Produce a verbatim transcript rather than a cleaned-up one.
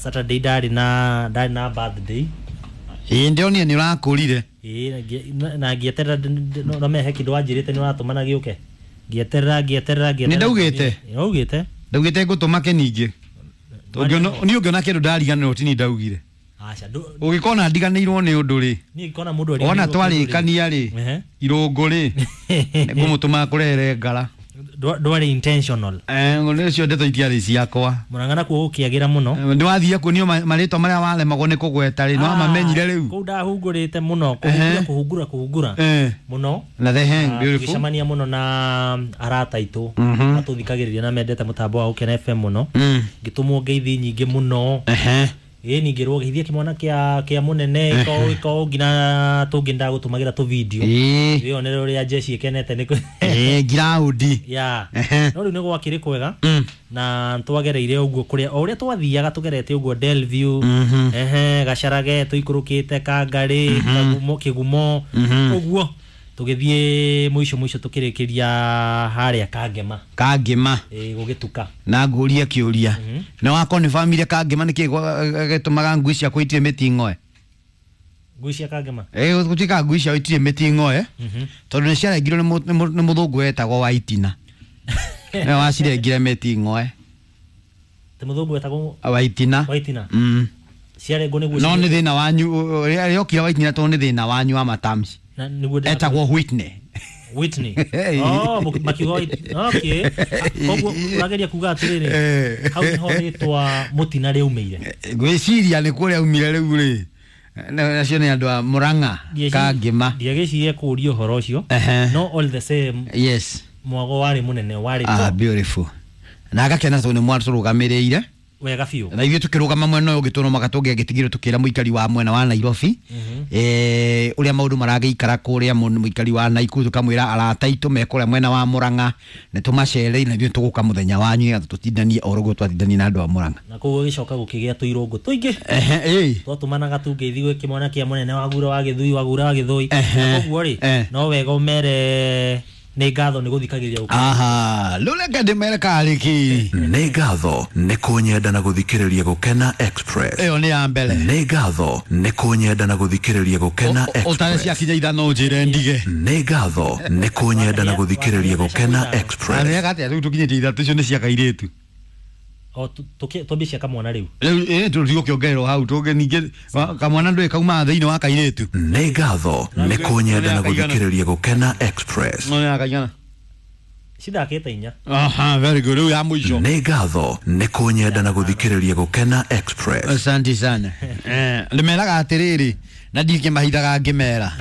Saturday ndarĩ na ndarĩ na birthday. Ĩĩ, ndĩronire nĩ ũrakũrire. Ĩĩ, na ngĩ- na- na ngĩeterera ndĩ- ndĩ- no no mehe kĩndũ wanjĩrĩte nĩ ũratũmana gĩũke, ngĩeterera ngĩeterera ngĩeterera. Nĩ ndaugĩte? Nĩ waugĩte. Ndaugĩte ngũtũma kĩningĩ. Ũngĩona niĩ ũngĩona kĩndũ ndariganĩrwo tini ndaugire. Aca, ndũ- Ũngĩkona ndiganĩirwo nĩ ũndũ rĩ, niĩ ngĩkona mũndũ wona ariganĩirwo kĩndũ rĩ. twarĩkania rĩ, Ehe. irũngũ rĩ, ngũmũtũma kũrehere ngara. Ndwa- ndwarĩ intentional. Eh, nĩcio ndeto itiarĩ ciakwa. Mũrang'a nakuo gũkĩagĩra mũno. Nĩ wathiĩ kuonio ma- marĩtwa marĩa waremagwo nĩ kũgweta rĩ, nĩ wamamenyire rĩu. Kũu ndahungũrĩte mũno, kũhungura kũhungura kũhungura Eh. mũno. Na the hang Ah, beautiful. tũgĩcemania mũno na arata aitũ Mhm. matũthikagĩrĩria na mendete mũtambo wa Gũkena F M mũno. Mm. Ngĩtũmwo ngeithi nyingĩ mũno. Ehe. Ĩ, ningĩrwo geithia kĩmwana kĩa kĩa mũnene iko iko nginya tũngĩ ndagũtũmagĩra tũ video. Ĩĩ. Wĩonere ũrĩa jeshi ĩkenete nĩ kũ- Ĩĩ, ngiraũndi. Ya. Ehe. No rĩu nĩ gwakĩrĩ kwega Mm. na twagereire ũguo kũrĩa o ũrĩa twathiaga tũgerete ũguo Delview, Mhm. ehe, Gacarage, tũikũrũkĩte Kangarĩ, Kagumo, Kĩgumo, Mhm. ũguo tũgĩthiĩ mũico mũico tũkĩrĩkĩria harĩa Kangema. Kangĩma. Ĩ, gũgĩtuka. Na ngũrie kĩũria, nĩ wakonifamire Kangĩma nĩkĩ gĩtũmaga ngui ciakwa itirĩ mĩting'oe? Ngui cia Kangema? Ĩ, gũtuĩkaga ngui ciao itirĩ mĩting'oe Mhm. tondũ nĩ ciarengirwo nĩ mũ- nĩ mũ- nĩ mũthũngũ wetagwo Waitina, nĩwe wacirengire mĩting'oe. Ti mũthũngũ wetagwo Waitina. Waitina? Mm. Ciarengwo nĩguo No ci- nĩ thĩna wanyu rĩokire Waitina tondũ nĩ thĩna wanyu wa matamshi. Na nĩguo ndĩra- Etagwo Whitney. Whitney. Hey. Oh, mũk- makiuga Whit- okay. Ah, koguo ũrageria kuga atĩrĩrĩ, Eh. hau nĩho rĩtwa mũtina rĩaumĩire? Ngwĩciria nĩ kũrĩa aumire rĩu rĩ. Na- nacio nĩ andũ a Mũrang'a. Ndieci- Kangĩma. Ndiagĩcirie kũũria ũhoro ũcio. Ehe. No all the same, yes mwago warĩ mũnene, warĩ Ah, top. beautiful. Na agakena tondũ nĩ mwatũrũgamĩrĩire. Wega biũ. Na ithuĩ tũkĩrũgama mwena ũyũ ũngĩ tũnomaga tũngĩagĩtigirwo tũkĩra mũikari wa mwena wa Nairobi eh, ũrĩa maũndũ maragĩikara kũrĩa, mũn- mũikari wa Naikuru tũkamwĩra arata aitũ me kũrĩa mwena wa Mũrang'a nĩ tũmacereire na ithuĩ tũgũka mũthenya wanyu nĩgetha tũtindanie oro ũguo twatindanie na andũ a Mũrang'a. Na koguo gĩcoka gũkĩgĩa tũirũngũ tũingĩ. Ehe, ĩĩ. Twatũmanaga tungeithi gwĩ kĩmwana kĩa mũnene wagura wa Gĩthui, wagura wa Gĩthũi. Ehe. Na koguo rĩ, Eh. no wega ũmere nĩ ngatho nĩ gũthikagĩrĩria gũkũ. Aha, rĩu reke ndĩmere karĩ kĩ. Nĩ ngatho nĩ kũnyenda na gũthikĩrĩria Gũkena Express. Ĩyo nĩ ya mbere. Nĩ ngatho nĩ kũnyenda na gũthikĩrĩria Gũkena ũtare Express. ciakinya ithano njĩre ndige. Nĩ ngatho nĩ kũnyenda na gũthikĩrĩria Gũkena Express. Arĩaga atĩa rĩu tũkinyĩtie ithatũ, icio nĩ cia kairĩtu. O tu- tũkĩ- twambie cia kamwana rĩu. Rĩu ĩ tũtigũkĩongererwo hau tũngĩ ningĩ wa- kamwana ndũĩ kaumaga thĩinĩ wa kairĩtu. Nĩ ngatho nĩ kũnyenda na gũthikĩrĩria Gũkena Express. No nĩ ya kaigana? Cithakĩte inya. Aha, very good. Rĩu ya mũico. Nĩ ngatho nĩ kũnyenda na gũthikĩrĩria Gũkena Express. Asante sana. Eh, ndĩmeraga atĩrĩrĩ na ndikĩmahithaga ngĩmera.